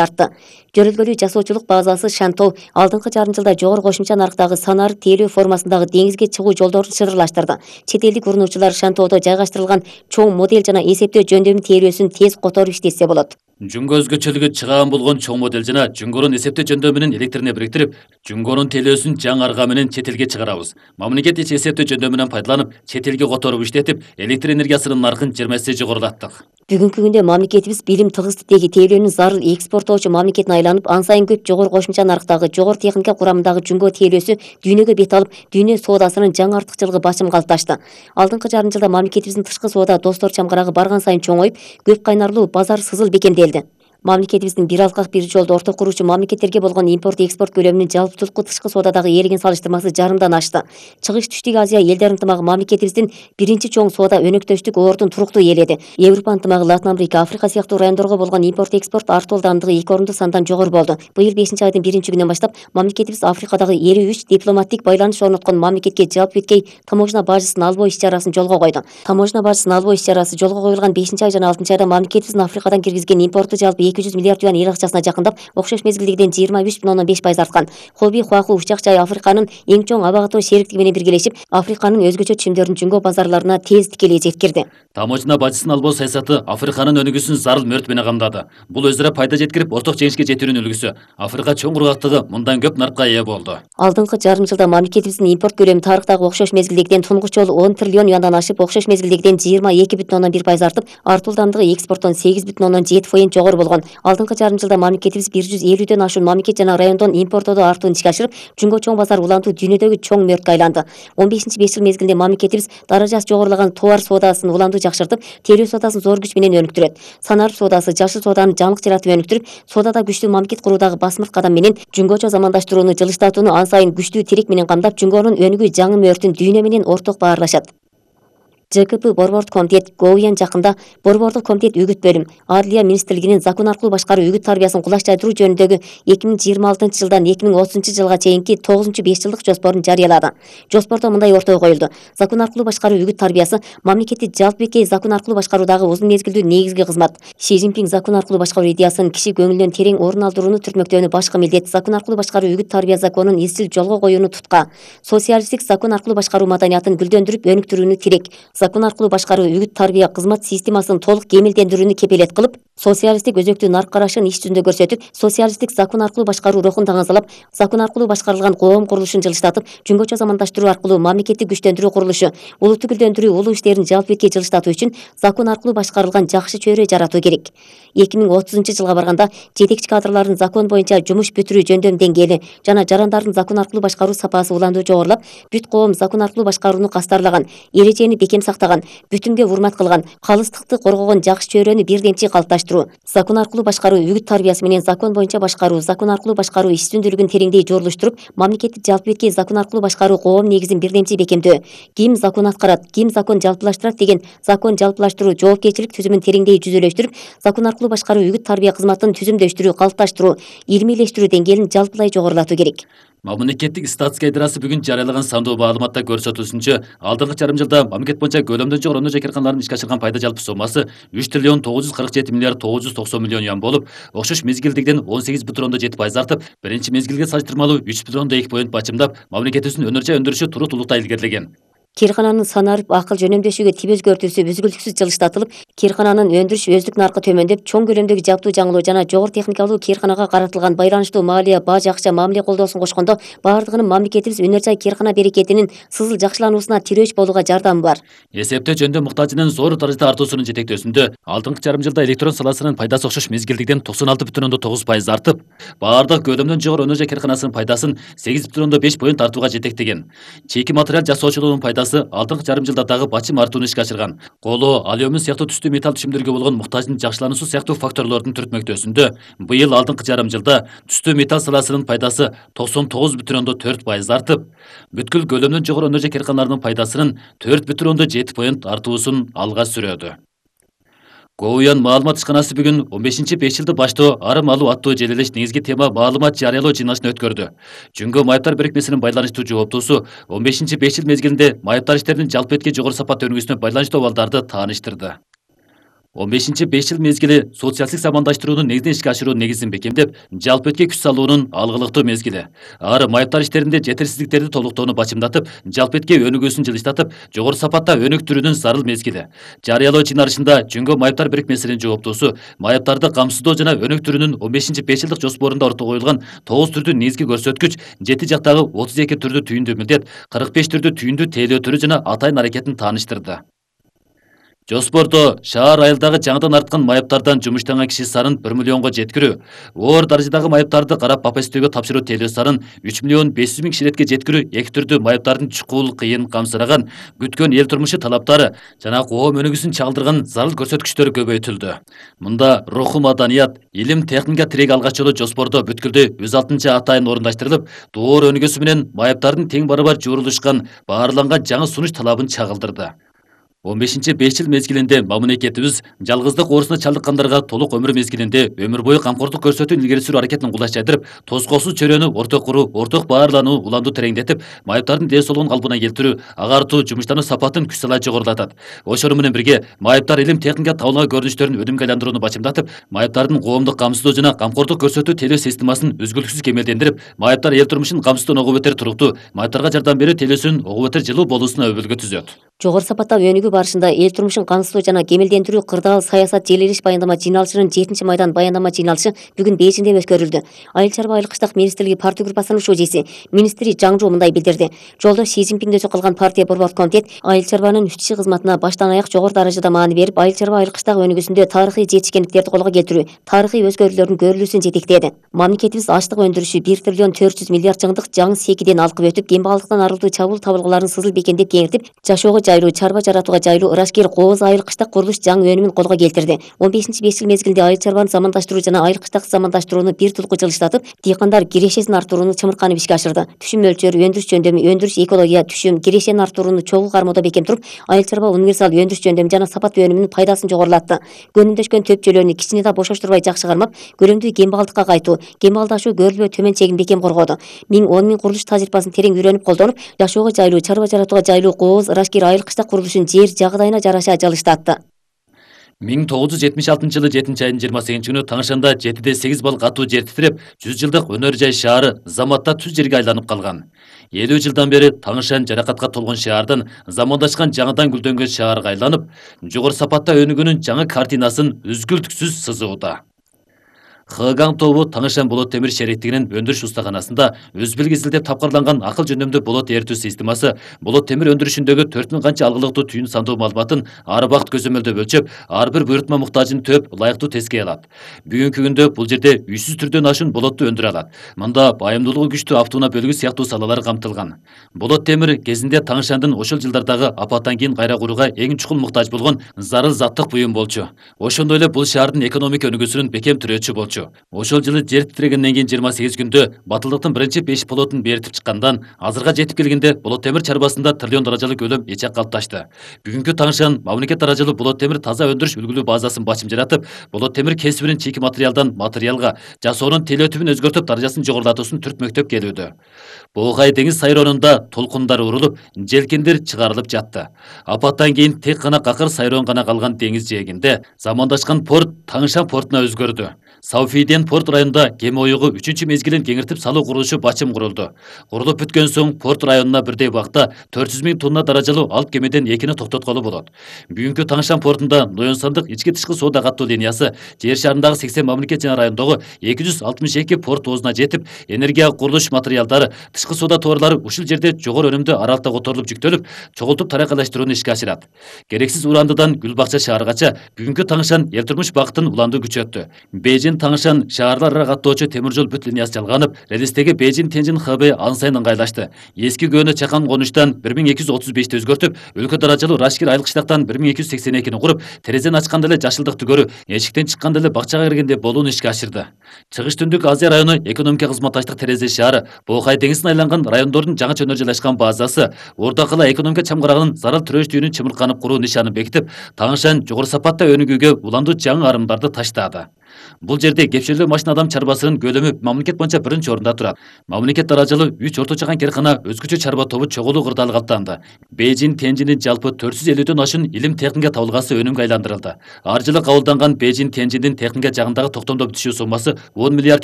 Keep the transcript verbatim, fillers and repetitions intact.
артты. Жөрөлгөлүү жасоочулук базасы Шантоо алдыңкы жарым жылда жогору кошумча нарктагы санарип тейлөө формасындагы деңизге чыгуу жолдорун чырырлаштырды. Чет элдик урунуучулар Шантоодо жайгаштырылган чоң модель жана эсептөө жөндөмү тейлөөсүн тез которуп иштетсе болот. Жүнгө өзгөчөлүгү чыгаан болгон чоң модель жана жүнгөрүн эсептөө жөндөмүнүн электрине бириктирип, жүнгөрүн тейлөөсүн жаңы арга менен чет элге чыгарабыз. Мамлекет ич эсептөө жөндөмүнөн пайдаланып, чет элге которуп иштетип, электр энергиясынын наркын жыйырма эсе жогорулаттык. Бүгүнкү күндө мамлекетибиз билим тыгыздыктеги тейлөөнү зарыл экспорттоочу мамлекетине айланып, ан сайын көп жогору кошумча нарктагы жогору техника курамындагы жүнгө тейлөөсү дүйнөгө бет алып, дүйнө соодасынын жаңы артыкчылыгы басым калыпташты. Алдыңкы жарым жылда мамлекетибиздин тышкы соода достор чамгарагы барган сайын чоңоюп, көп кайнарлуу базар сызыл бекемделди. Мамлекетибиздин бир алкак бир жолду орток куруучу мамлекеттерге болгон импорт экспорт көлөмүнүн жалпытылкуу тышкы соодадагы ээлеген салыштырмасы жарымдан ашты. Чыгыш Түштүк Азия элдер ынтымагы мамлекетибиздин биринчи чоң соода өнөктөштүк ордун туруктуу ээледи. Европа ынтымагы, Латын Америка, Африка сыяктуу райондорго болгон импорт экспорт артуу ылдамдыгы эки орунду сандан жогору болду. Быйыл бешинчи айдын биринчи күнүнөн баштап мамлекетибиз Африкадагы элүү үч дипломаттик байланыш орноткон мамлекетке жалпы беткей таможня бажысын албоо иш-чарасын жолго койду. Таможня бажысын албоо иш-чарасы жолго коюлган бешинчи ай жана алтынчы айда мамлекетибиздин Африкадан киргизген импорту жалпы эки жүз миллиард юань эл акчасына жакындап, окшош мезгилдегиден жыйырма үч бүтүн ондон беш пайыз арткан. Хоби Хуаху учак жай Африканын эң чоң аба катоо шериктиги менен биргелешип, Африканын өзгөчө чимдерин жүнгө базарларына тез тикелей жеткирди. Таможня бажысын албоо саясаты Африканын өнүгүүсүн зарыл мөрт менен камдады. Бул өзүрө пайда жеткирип, орток жеңишке жетүүнүн үлгүсү. Африка чоң кургактыгы мындан көп наркка ээ болду. Алдыңкы жарым жылда мамлекетибиздин импорт көлөмү тарыхтагы окшош мезгилдегиден тунугуч жолу он триллион юандан ашып, окшош мезгилдегиден жыйырма эки бүтүн ондон бир пайыз артып, артуу ылдамдыгы экспорттон сегиз бүтүн ондон жети фоиз жогору болгон. Алдыңкы жарым жылда мамлекетибиз бир жүз элүүдөн ашуун мамлекет жана райондон импорттоодо артуун ишке ашырып, жүнгө чоң базар улантуу дүйнөдөгү чоң мөрткө айланды. он бешинчи беш жыл мезгилинде мамлекетибиз даражасы жогорулаган товар соодасын улантуу жакшыртып, тейлөө соодасын зор күч менен өнүктүрөт. Санарип соодасы, жашыл сооданы жаңылык жаратып өнүктүрүп, соодада күчтүү мамлекет куруудагы басмырт кадам менен жүнгөчө замандаштырууну жылыштатууну ан сайын күчтүү тирек менен камдап, жүнгөнүн өнүгүү жаңы мөөртүн дүйнө менен орток баарлашат. ЖКП Борбордук комитет Гоуян жакында Борбордук комитет үгүт бөлүм Адылия министрлигинин закон аркылуу башкаруу үгүт тарбиясын кулаш жайдыруу жөнүндөгү эки миң жыйырма алтынчы жылдан эки миң отузунчу жылга чейинки тогузунчу беш жылдык жоспорун жарыялады. Жоспордо мындай ортого коюлду: закон аркылуу башкаруу үгүт тарбиясы мамлекетти жалпы бекей закон аркылуу башкаруудагы узун мезгилдүү негизги кызмат. Си Цзиньпин закон аркылуу башкаруу идеясын киши көңүлүнөн терең орун алдырууну түртмөктөөнү башкы милдет. Закон аркылуу башкаруу үгүт тарбия законун изчил жолго коюуну тутка. Социалисттик закон аркылуу башкаруу маданиятын гүлдөндүрүп өнүктүрүүнү тирек. Закон аркылуу башкаруу үгүт тарбия кызмат системасын толук кемелдендирүүнү кепилет кылып, социалисттик өзөктүү нарк карашын иш жүзүндө көрсөтүп, социалисттик закон аркылуу башкаруу рухун таңазалап, закон аркылуу башкарылган коом курулушун жылыштатып, жүнгөчө замандаштыруу аркылуу мамлекеттик күчтөндүрүү курулушу, улутту гүлдөндүрүү улуу иштерин жалпы бекей жылыштатуу үчүн закон аркылуу башкарылган жакшы чөйрө жаратуу керек. эки миң отузунчу жылга барганда жетекчи кадрлардын закон боюнча жумуш бүтүрүү жөндөм деңгээли жана жарандардын закон аркылуу башкаруу сапасы улануу жогорулап, бүт коом закон аркылуу башкарууну кастарлаган, эрежени бекем сактаган, бүтүнгө урмат кылган, калыстыкты коргогон жакшы чөйрөнү бирдемчи калыпташтыруу, закон аркылуу башкаруу үгүт тарбиясы менен закон боюнча башкаруу, закон аркылуу башкаруу иш үстүндүүлүгүн тереңдей жорулуштуруп, мамлекетти жалпы беткей закон аркылуу башкаруу коом негизин бирдемчи бекемдөө, ким закон аткарат, ким закон жалпылаштырат деген закон жалпылаштыруу жоопкерчилик түзүмүн тереңдей жүзөлөштүрүп, закон аркылуу башкаруу үгүт тарбия кызматын түзүмдөштүрүү, калыпташтыруу, илмийлештирүү деңгээлин жалпылай жогорулатуу керек. Мамлекеттик статистика идарасы бүгүн жарыялаган сандуу маалыматта көрсөтүлүшүнчө, алдыңкы жарым жылда мамлекет боюнча көлөмдөн жогору өнөр жайкарканалардын ишке ашырган пайда жалпы соммасы үч триллион тогуз жүз кырк жети миллиард тогуз жүз токсон миллион юан болуп, окшош мезгилдегиден он сегиз бүтүн ондон жети пайыз артып, биринчи мезгилге салыштырмалуу үч бүтүн ондон эки поинт бачымдап, мамлекетибиздин өнөр жай өндүрүшү турут улута илгерилеген. Киркананын санарип акыл жөнөмдөшүүгө тип өзгөртүүсү үзгүлтүксүз жылыштатылып, киркананын өндүрүш өздүк наркы төмөндөп, чоң көлөмдөгү жаптуу жаңылоо жана жогору техникалуу кирканага каратылган байланыштуу маалия, баж акча мамиле колдоосун кошкондо, баардыгынын мамлекетибиз өнөр жай киркана берекетинин сызыл жакшылануусуна тирөөч болууга жардамы бар. Эсептөө жөндөм муктажынын зор даражада артуусунун жетектөөсүндө, алдыңкы жарым жылда электрон саласынын пайдасы окшош мезгилдегиден токсон алты бүтүн ондон тогуз пайыз артып, баардык көлөмдөн жогору өнөр жай кирканасынын пайдасын сегиз бүтүн ондон беш поинт артууга жетектеген. Чийки материал жасоочулугунун пайдасы алдыңкы жарым жылда дагы бачым артууну ишке ашырган. Коло, алюмин сыяктуу түстүү металл түшүмдөргө болгон муктаждын жакшылануусу сыяктуу факторлордун түртмөктөөсүндө, быйыл алдыңкы жарым жылда түстүү металл саласынын пайдасы токсон тогуз бүтүн ондон төрт пайыз артып, бүткүл көлөмдөн жогору өнөр жай кирканалардын пайдасынын төрт бүтүн ондон жети поинт артуусун алга сүрөдү. Гоуян маалымат ишканасы бүгүн он бешинчи беш жылды баштоо арым алуу аттуу желелеш негизги тема маалымат жарыялоо жыйналышын өткөрдү. Жүнгө майыптар берекмесинин байланыштуу жооптуусу он бешинчи беш жыл мезгилинде майыптар иштеринин жалпы беткей жогору сапаттуу өнүгүүсүнө байланыштуу абалдарды тааныштырды. он бешинчи беш жыл мезгили социалдык замандаштыруунун негизин ишке ашыруу негизин бекемдеп, жалпы этке күч салуунун алгылыктуу мезгили. Ар майыптар иштеринде жетерсиздиктерди толуктоону бачымдатып, жалпы этке өнүгүүсүн жылыштатып, жогору сапатта өнүктүрүүнүн зарыл мезгили. Жарыялоо чыгарышында Жөнгө майыптар бирикмесинин жооптоосу майыптарды камсыздоо жана өнүктүрүүнүн он бешинчи беш жылдык жоспорунда ортого коюлган тогуз түрдүү негизги көрсөткүч, жети жактагы отуз эки түрдүү түйүндүү милдет, кырк беш түрдүү түйүндүү тейлөө түрү жана атайын аракетин тааныштырды. Жоспордо шаар айылдагы жаңыдан арткан майыптардан жумуштанган киши санын бир миллионго жеткирүү, оор даражадагы майыптарды карап бапа издөөгө тапшыруу тейлөө санын үч миллион беш жүз миң киширетке жеткирүү эки түрдүү майыптардын чукул, кыйын, камсыраган, күткөн эл турмушу талаптары жана коом өнүгүүсүн чагылдырган зарыл көрсөткүчтөр көбөйтүлдү. Мында руху маданият, илим, техника тиреги алгач жолу жоспордо бүткүлдү жүз алтынчы атайын орундаштырылып, доор өнүгүүсү менен майыптардын тең барабар жуурулушкан, баарланган жаңы сунуш талабын чагылдырды. он бешинчи беш жыл мезгилинде мамлекетибиз жалгыздык оорусуна чалдыккандарга толук өмүр мезгилинде өмүр бою камкордук көрсөтүү илгери суруу аракетин кулаш жайдырып, тоскоолсуз чөйрөнү орток куруу, орток баарлануу, уланду тереңдетип, майыптардын ден соолугун калпына келтирүү, агартуу, жумуштануу сапатын күч сала жогорулатат. Ошону менен бирге майыптар илим, техника табылган көрүнүштөрүн өнүмгө айландырууну бачымдатып, майыптардын коомдук камсыздоо жана камкордук көрсөтүү тейлөө системасын үзгүлтүксүз кемелдендирип, майыптар эл турмушун камсыздоон ого бетер туруктуу, майыптарга жардам берүү тейлөөсүнүн ого бетер жылуу болуусуна өбөлгө түзөт. Жогору сапатта өнүгүү барышында эл турмушун камсыздоо жана кемелдендирүү кырдаал саясат желилиш баяндама жыйналышынын жетинчи майдан баяндама жыйналышы бүгүн Бейжиңде өткөрүлдү. Айыл чарба айыл кыштак министрлиги партия группасынын шужиси, министри Жаң Жу мындай билдирди. Жолдо Си Цзиньпиңди өзү кылган партия борбордук комитет айыл чарбанын үч киши кызматына баштан аяк жогору даражада маани берип, айыл чарба айыл кыштак өнүгүүсүндө тарыхый жетишкендиктерди колго келтирүү, тарыхый өзгөрүүлөрдүн көрүлүүсүн жетектеди. Мамлекетибиз ачлык өндүрүшү бир триллион төрт жүз миллиард жыңдык жаңы секиден алкып өтүп, кембагалдыктан арылтуу чабуул табылгыларын сызыл бекемдеп кеңиртип, жашоого жайлуу, чарба жаратууга жайлуу ырашкер кооз айыл кыштак курулуш жаңы өнүмүн колго келтирди. он бешинчи беш жыл мезгилинде айыл чарбаны замандаштыруу жана айыл кыштак замандаштырууну бир тулку жылыштатып, дыйкандар кирешесин артырууну чымырканып ишке ашырды. Түшүм мөлчөрү, өндүрүш жөндөмү, өндүрүш экология, түшүм, кирешени артырууну чогуу кармоодо бекем туруп, айыл чарба универсал өндүрүш жөндөмү жана сапаттуу өнүмүнүн пайдасын жогорулатты. Көнүмдөшкөн төпчөлөрүнү кичине да бошоштурбай жакшы кармап, көлөмдүү кембагалдыкка кайтуу, кембагалдашуу, көрүлбө төмөн чегин бекем коргоду. миң он миң курулуш тажрыйбасын терең үйрөнүп колдонуп, жашоого жайлуу, чарба жаратууга жайлуу кооз ырашкер айыл кыштак курулушун жер жагдайына жараша жылыштатты. миң тогуз жүз жетимиш алтынчы жылы жетинчи айдын жыйырма сегизинчи күнү Таңшанда жетиде сегиз балык атуу жер титиреп, жүз жылдык өнөр жай шаары заматта түз жерге айланып калган. элүү жылдан бери Таңшан жаракатка толгон шаардан замандашкан жаңыдан гүлдөнгөн шаарга айланып, жогору сапатта өнүгүүнүн жаңы картинасын үзгүлтүксүз сызууда. Хыгаң тобу Таңшан болот темир шериктигинин өндүрүш устаканасында өзбилги изилдеп тапкырланган акыл жөндөмдүү болот эритүү системасы болот темир өндүрүшүндөгү төрт миң канча алгылыктуу түйүн сандуу маалыматын ар убакыт көзөмөлдөп өлчөп, ар бир буйрутма муктажын төп, ылайыктуу тескей алат. Бүгүнкү күндө бул жерде үч жүз түрдөн ашуун болотту өндүрө алат. Мында байымдуулугу күчтүү автоунаа бөлүгү сыяктуу салалар камтылган. Болот темир кезинде Таңшандын ошол жылдардагы апаттан кийин кайра курууга эң чукул муктаж болгон зарыл заттык буюм болчу. Ошондой эле бул шаардын экономика өнүгүүсүнүн бекем тирөөчү болчу. Ошол жылы жер титирегенден кийин жыйырма сегиз күндө батылдыктын биринчи беш болотун беритип чыккандан азырга жетип келгенде болот темир чарбасында триллион даражалык көлөм эче калыпташты. Бүгүнкү Таңшан мамлекет даражалуу болот темир таза өндүрүш үлгүлүү базасын бачым жаратып, болот темир кесибинин чийки материалдан материалга, жасоонун телөтүбүн өзгөртүп даражасын жогорулатуусун түртмөктөп келүүдө. Боогай деңиз сайроонунда толкундар урулуп, желкендер чыгарылып жатты. Апаттан кийин тек гана какыр сайроон гана калган деңиз жээгинде замандашкан порт Таңшан портуна өзгөрдү. Сауфийден порт районунда кеме оюгу үчүнчү мезгилин кеңиртип салуу курулушу бачым курулду. Курулуп бүткөн соң порт районуна бирдей убакта төрт жүз миң тонна даражалуу алып кемеден экини токтотколу болот. Бүгүнкү Таңшан портунда Ноён сандык ички тышкы соода каттоо линиясы жер шарындагы сексен мамлекет жана райондогу эки жүз алтымыш эки порт оозуна жетип, энергия курулуш материалдары, тышкы соода товарлары ушул жерде жогору өнүмдүү аралыкта которулуп жүктөлүп, чогултуп таракайлаштырууну ишке ашырат. Керексиз урандыдан Гүл бакча шаарыгача бүгүнкү Таңшан эл турмуш бакытын уланды күчөттү. Бейжин Таңшан шаарлар ара каттоочу темир жол бүт линиясы жалганып, релистеги Бейжин Тенжин Хэбэй ан сайын ыңгайлашты. Эски көөнө чакан конуштан бир миң эки жүз отуз бешти өзгөртүп, өлкө даражалуу Рашкир айыл кыштактан бир миң эки жүз сексен экини куруп, терезени ачканда эле жашылдыкты көрүү, эшиктен чыкканда эле бакчага киргенде болууну ишке ашырды. Чыгыш түндүк Азия району экономика кызматташтык терезе шаары, Боокай деңизине айланган райондордун жаңы чөнөр жайлашкан базасы, Орда кыла экономика чамгарагынын зарыл тирөөчтүгүнүн чымырканып куруу нишанын бекитип, Таңшан жогору сапатта өнүгүүгө уландуу жаңы арымдарды таштады. Бул жерде кепшелдөө машина адам чарбасынын көлөмү мамлекет боюнча биринчи орунда турат. Мамлекет даражылуу үч орто чакан каркана өзгөчө чарба тобу чогулуу кырдаал каттанды. Бейжин Тяньжиндин жалпы төрт жүз элүүдөн ашуун илим техника табылгасы өнүмгө айландырылды. Ар жылы кабылданган Бейжин Тяньжиндин техника жагындагы токтомдоп түшүү суммасы он миллиард